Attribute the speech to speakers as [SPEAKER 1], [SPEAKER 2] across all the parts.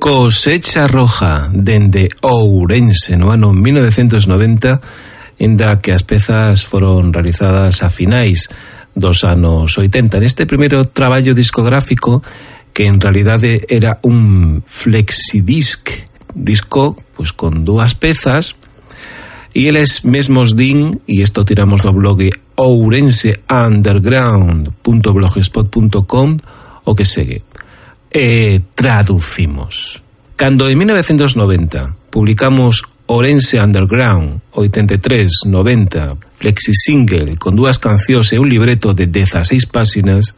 [SPEAKER 1] Cosecha Roja, dende Ourense no ano 1990, inda que as pezas foron realizadas a finais dos anos 80. Neste primeiro traballo discográfico, que en realidade era un flexidisc, disco pues, con dúas pezas, e eles mesmos din, e isto tiramos do blog ourenseunderground.blogspot.com, o que segue. Traducimos. Cando en 1990 publicamos Ourense Underground 83-90 flexi single con dúas cancións e un libreto de 16 páxinas,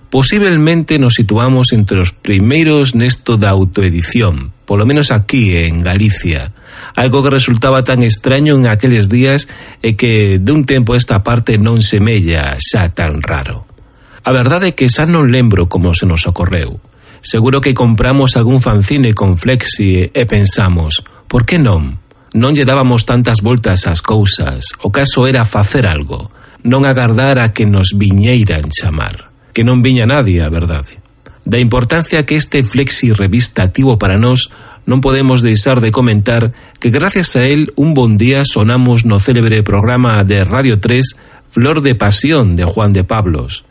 [SPEAKER 1] posiblemente nos situamos entre os primeiros nesto da autoedición, polo menos aquí en Galicia, algo que resultaba tan extraño en aqueles días e que dun tempo esta parte non semella xa tan raro. A verdade é que xa non lembro como se nos ocorreu. Seguro que compramos algún fanzine con flexi e pensamos, por que non? Non lle dábamos tantas voltas ás cousas, o caso era facer algo, non agardar a que nos viñeiran chamar, que non viña nadie, a verdade. Da importancia que este flexi revista tivo para nós, non podemos deixar de comentar que gracias a él un bon día sonamos no célebre programa de Radio 3 Flor de Pasión de Juan de Pablos,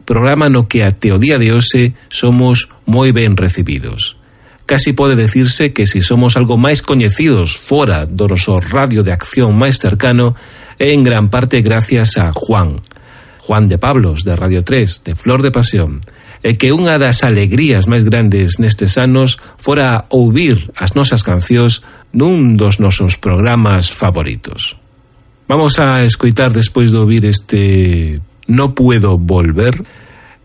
[SPEAKER 1] programa no que até o día de hoxe somos moi ben recibidos. Casi pode decirse que si somos algo máis coñecidos fora do noso radio de acción máis cercano é en gran parte gracias a Juan de Pablos de Radio 3, de Flor de Pasión, e que unha das alegrías máis grandes nestes anos fora ouvir as nosas cancións nun dos nosos programas favoritos. Vamos a escoitar despois de ouvir este No Puedo Volver,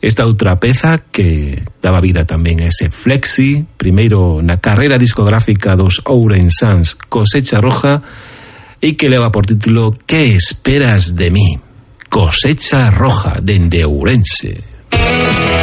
[SPEAKER 1] esta outra peza que daba vida tamén a ese flexi, primeiro na carreira discográfica dos ourensans Cosecha Roja, e que leva por título Que esperas de mí? Cosecha Roja dende Ourense.